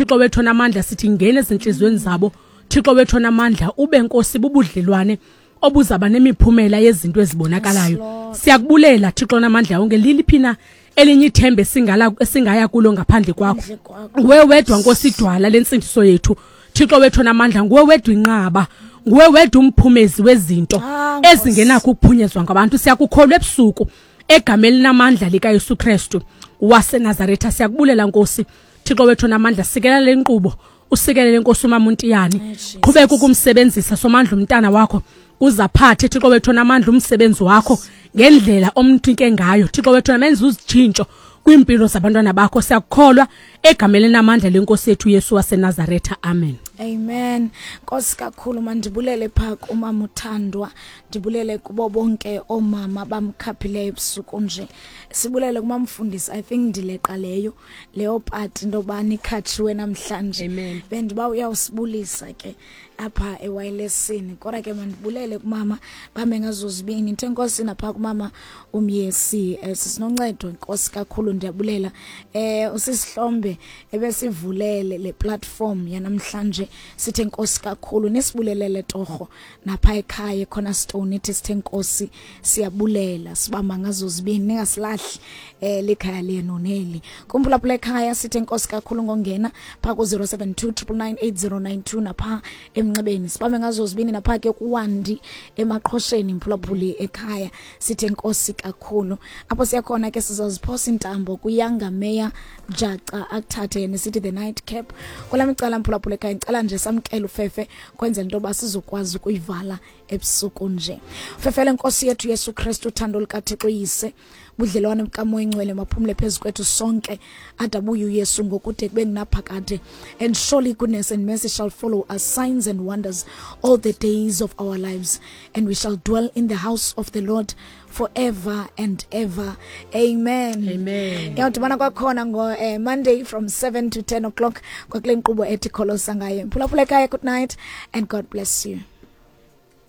Thixo wethu onamandla, sithi ngena ezintliziyweni zabo. Thixo wethu onamandla, ube Nkosi bubudlelwane obuzaba nemiphumela yezinto ezibonakalayo. Siyakubulela Thixo onamandla wonke. Liliphi na elinye ithemba esingala esingaya kulo ngaphandle kwakho? Nguwe wedwa Nkosi idwala lentsindiso yethu. Thixo wethu onamandla, nguwe wedwa inqaba, nguwe wedwa umphumezi wezinto Ah, ezingenakho ukuphunyezwa ngabantu. Siyakukholwa ebusuku egameni elinamandla likaYesu Kristu waseNazaretha. Siyakubulela Nkosi Thixo wethu onamandla, sikela le nkqubo, usikelele Nkosi uMamuntiyane, qhubeka ukumsebenzisa Somandla umntana wakho, uzaphathe Thixo wethu onamandla umsebenzi wakho ngendlela omnike ngayo. Thixo wethu, namenza uzitshintsho kwiimpilo zabantwana bakho. Siyakukholwa egameni elinamandla lenkosi yethu Yesu waseNazaretha, amen. Amen. Nkosi kakhulu, mandibulele pha kumama uthandwa, ndibulele kubo bonke oomama bamkhaphileyo ebusuku nje. Sibulele kumamfundisi, I think ndileqa leyo leyo part into yoba nikhatshiwe namhlanje. Amen. Bendiba uyawusibulisa ke apha ewayilesini, kodwa ke mandibulele kumama bame ngazo zibini. Ndithe nkosi napha kumama umyesi, sisinoncedo, nkosi kakhulu, ndiyabulela. Usisihlombe ebesivulele le platform yanamhlanje, sithe nkosi kakhulu, nisibulelele torho napha ekhaya eCornerstone, ithi sithe nkosi siyabulela, sibamba ngazo zibini, ningasilahli likhaya lenu neli. Kumphulaphula ekhaya, sithe nkosi kakhulu ngongena pha ku 072 9998092 napha emnxebeni, sibambe ngazo zibini napha ke kuwandi emaqhosheni. Mphulaphuli ekhaya, sithe nkosi kakhulu. Apho siyakhona ke sizoziphosa intambo kuyanga Meya Jaca, akuthathe yena, sithi the night cap kwelami icala. Mphulaphula ekhaya, ngicela nje samkele ufefe kwenzela into yoba sizokwazi ukuyivala ebusuku nje. Fefele Nkosi yethu Yesu Kristu, uthando lukaThixo Yise, budlelwane bukaMoya Ingcwele maphumle phezu kwethu sonke adabuye uYesu ngokude kube ngunaphakade. And surely goodness and mercy shall follow us, signs and wonders, all the days of our lives, and we shall dwell in the house of the Lord forever and ever. Amen. Amen. Yawudibana kwakhona ngo Monday from 7 to 10 o'clock kwakule nkqubo ethi Kholosa Ngaye. Mphulaphula ekhaya, good night and God bless you.